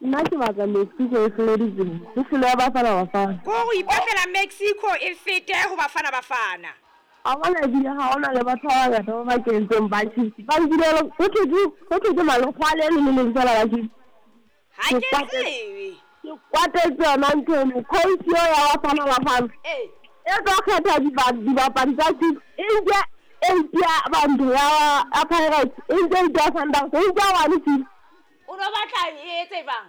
Nna ke batla Mexico e hlole ditsela, e hlole ya Bafana Bafana. Ko go ipatlela Mexico e fete go Bafana Bafana. Wa bona ebile ga gona le batho ba bangata ba ba kentseng ba Chiefs ba nkile go thwe ke go thwe ke malokgwa le le leng fela la Chiefs. Ga Ke ke kwatetse tsebe. ke kwatetse yona ntho eno coach eo ya Bafana Bafana e tlo kgetha dibapadi tsa Chiefs e nke eight ya bantu ya ya Pirates e nke eight ya Sundowns e nke one Chiefs. O no batla e etse jwang?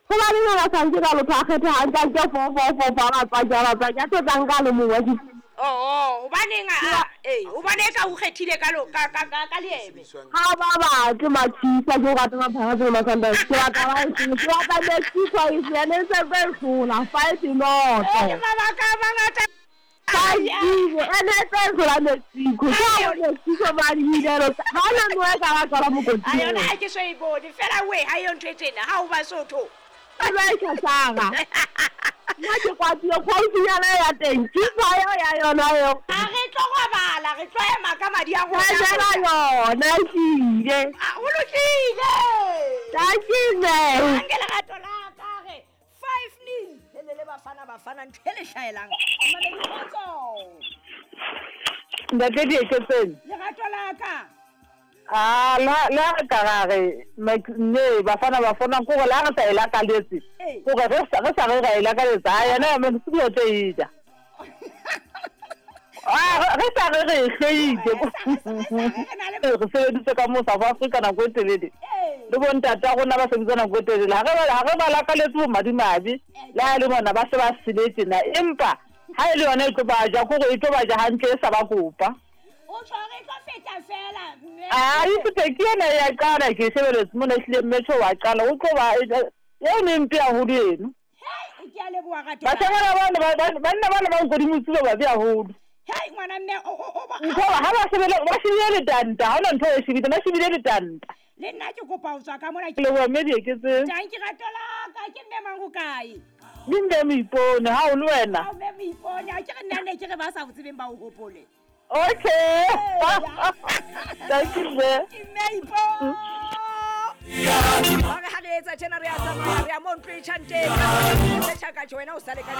Gobaneng a sa nke ka lotho a kgethe a nke a nke four four four four a batswaki a batswaki a tlo tla nka a le mongwe wa Chiefs. Oo, hobaneng a a ee, hobane eka o kgethile ka lo ka ka ka ka leeme. Ga ba batle ma-Chiefs a ke go rata ma-Pirates le ma-Sundowns ke batla ba e hlole ke batla Mexico e hlole ene e sentse e hlola five Ee, noto. mabaka a mangata Five zero ene e tlo e hlola Mexico ke A a yona Mexico ba di inelo ga ona no e ka ba tswala a mokoting yona eo. ha ke so e bone fela we ha yo ntho e tjena ha o Basotho. E ba e tšhašaga. Nna ke kwatile kgaufinyana ya teng Chiefs eo ya yona eo. A re tlo robala re tlo ema ka madi a rona Tšhašela rona. yona ehlile. A ho lokile. Dankie mme. Anke lerato la ka re 5-0 helele Bafana Bafana ntho e le hlahelang. Mamedi kgotso. Ntate Dieketseng. Lerato la ka. A la la re ka ra re ne Bafana Bafana ko gore la re sa e lakaletse gore re sa re sa re ra e lakaletsa a yena ya Mexico o tlo e ja. A re sa re re e hloile re sebeditse ka mo South Africa nako e telele le bontata rona ba sebetsa nako e telele ha re ba lakaletse bomadimabe le ha e le bona ba se ba sele tjena empa ha e le yona e tlo ba ja kore e tlo ba ja hantle e sa ba kopa. O tjho re tlo feta fela mme. A e fete ke ena ya qala ke shebeletse mona ehlile mme tjho wa qala o tlo ba eno e mpe haholo eno. Hei ke a leboha rato la. Bahlankana bana banna bana ba nkodimo tsilo babe haholo. Hei ngwana mme o o o Ntho ha ba shebile ba shebile letanta ha hona ntho e shebile ba shebile letanta. Le nna ke kopa ho tswa ka mona ke. Leboha mme Dieketseng. Tanki rato la ka ke mme mang ho kae? Ke mme Moipone ha o le wena. Ha mme Moipone a ke re nna ne ke re ba sa o tsebeng ba o hopole. Okay. Thank you mme. Ke mme Ipone. Ba re ha re etsa tjena re a tsamaya re ya mo ntlo e tjhang teng. Re tjhaka tjho wena o sale ka.